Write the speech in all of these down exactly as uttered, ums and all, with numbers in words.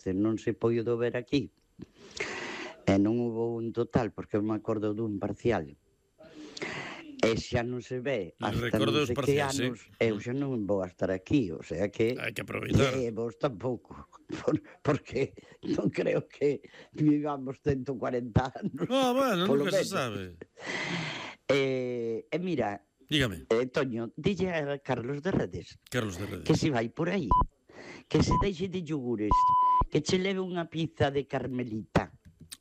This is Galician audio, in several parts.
se non se poido ver aquí. E non hubo un total, porque eu me acordo dun parcial. E xa non se ve hasta non sei que anos, eu xa non vou a estar aquí, o sea que hai que aproveitar. E vos tampouco, por, porque non creo que vivamos ciento cuarenta anos. Ah, bueno, nunca se sabe. E, e mira, dígame. Eh, Toño, dille a Carlos de Redes, Carlos de Redes que se vai por aí, que se deixe de yogures, que che leve unha pizza de Carmelita.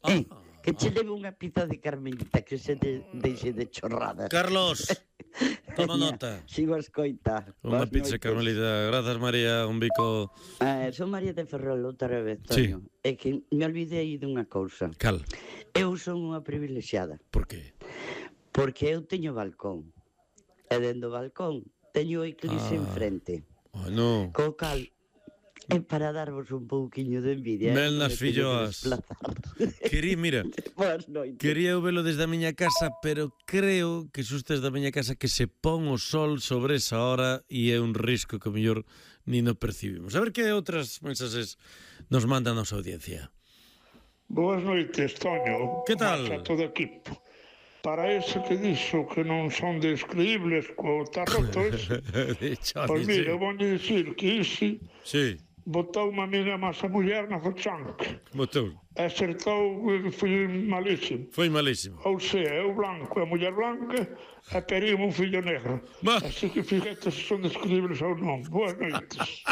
Ah. Eh? Que che leve unha pizza de Carmelita, que se de, deixe de chorradas. Carlos, toma nota. Sigo a escoitar. Unha pizza de Carmelita. Grazas, María, un bico. Eh, son María de Ferrol, outra vez, Toño. Sí. É que me olvidei dunha cousa. Cal? Eu son unha privilexiada. Por qué? Porque eu teño balcón. E dentro do balcón teño o eclipse ah. enfrente. Oh, no. Co cal... É para darvos un pouquiño de envidia. Mel nas filloas. Quería, mira, quería eu velo desde a miña casa, pero creo que sustes da miña casa que se pon o sol sobre esa hora e é un risco que o mellor ni no percibimos. A ver que outras mensaxes nos mandan a nosa audiencia. Boas noites, Toño. Que tal? A todo equipo. Para ese que dixo que non son descriibles co tarrotos, pois mira, vou dicir que isi... Sí. Botou unha amiga máis a muller na fochanca. Botou. Acertou, foi malísimo. Foi malísimo. Ou sea, eu blanco, a muller blanca, e teríamos un fillo negro. Ma... Así que fíjate se son describles ou non. Boas noites.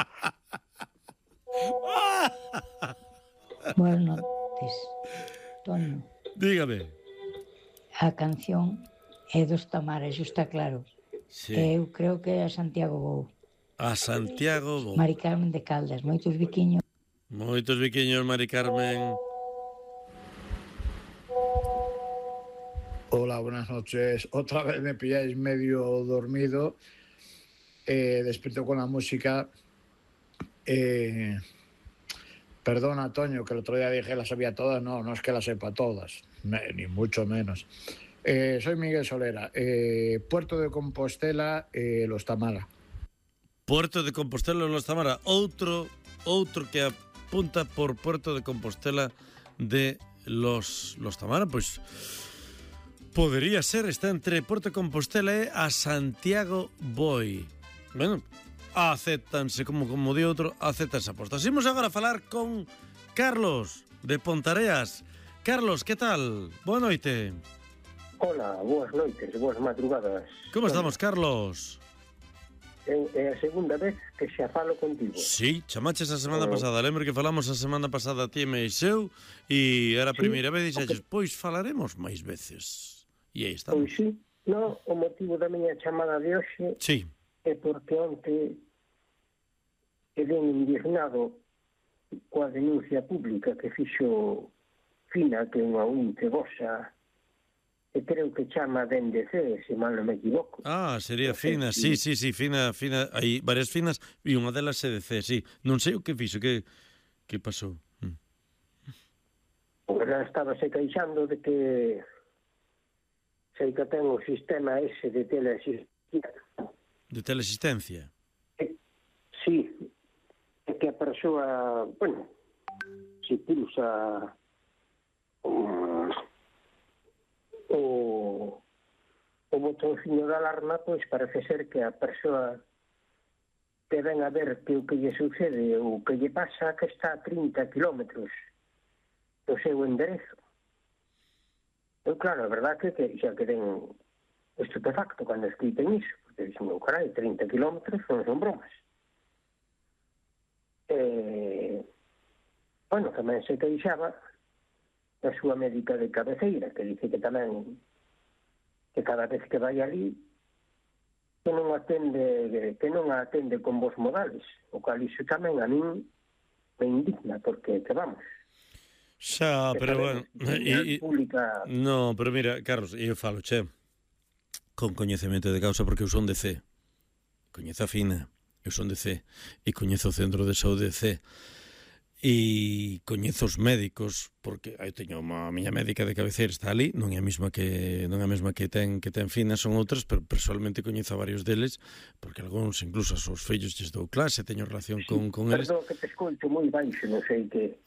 Boas noites, Toño. Dígame. A canción é dos Tamares, está claro. Sí. Eu creo que é a Santiago Bou. A Santiago Bou. Mari Carmen de Caldas, moitos biquiños. Moitos biquiños, Mari Carmen. Hola, buenas noches. Otra vez me pilláis medio dormido. Eh, despierto con la música. Eh, perdona, Toño, que el otro día dije que las sabía todas. No, no es que las sepa todas, ni mucho menos. Eh, soy Miguel Solera. Eh, Puerto de Compostela, eh, Los Tamara. Puerto de Compostela, Los Tamara. Outro, outro que apunta por Puerto de Compostela de Los, Los Tamara, pois podería ser, está entre Puerto de Compostela e a Santiago Boi. Bueno, acéptanse, como, como di outro, acéptanse apostas. Imos agora a falar con Carlos de Pontareas. Carlos, que tal? Boa noite. Hola, boas noites, boas madrugadas. Como estamos, Carlos? É a segunda vez que xa falo contigo. Sí, chamaches a semana oh. pasada. Lembro que falamos a semana pasada ti e Meixeu e era a primeira sí, vez e dixaches, okay. Pois falaremos máis veces. E aí estamos. Pois sí, no, o motivo da miña chamada de hoxe sí. é porque onte quedei indignado coa denuncia pública que fixo Fina, que é unha unte vosa, que creo que chama D N D C, se mal non me equivoco. Ah, sería Fina, sí, sí, sí, Fina, Fina, hai varias Finas e unha delas é D C, sí. Non sei o que fixo, que que pasou. Mm. Ela estaba se queixando de que sei que ten o sistema ese de teleasistencia. De teleasistencia? Sí, é que a persoa, bueno, se pulsa um, o, o botóncinho de alarma, pois parece ser que a persoa que ven a ver que o que lle sucede ou que lle pasa que está a trinta kilómetros do seu enderezo. Eu, claro, a verdade é que xa quedei estupefacto cando escriten iso, porque dixen, meu carai, trinta kilómetros non son bromas. Eh, bueno, tamén se queixaba da súa médica de cabeceira, que dice que tamén que cada vez que vai ali que non atende que non a atende con vos modales, o cual iso tamén a min me indigna, porque que vamos. Xa, pero bueno, e, pública... no, pero mira, Carlos, eu falo, che, con coñecemento de causa, porque eu son de C, coñezo a Fina, eu son de C, e coñezo o Centro de Saúde de C, e coñezo os médicos, porque eu teño a miña médica de cabeceira está ali, non é a mesma que non é a mesma que ten que ten Fina, son outras, pero personalmente coñezo a varios deles, porque algúns incluso aos seus fillos lles dou clase, teño relación con con eles. Perdón que te escoito moi baixo, non sei que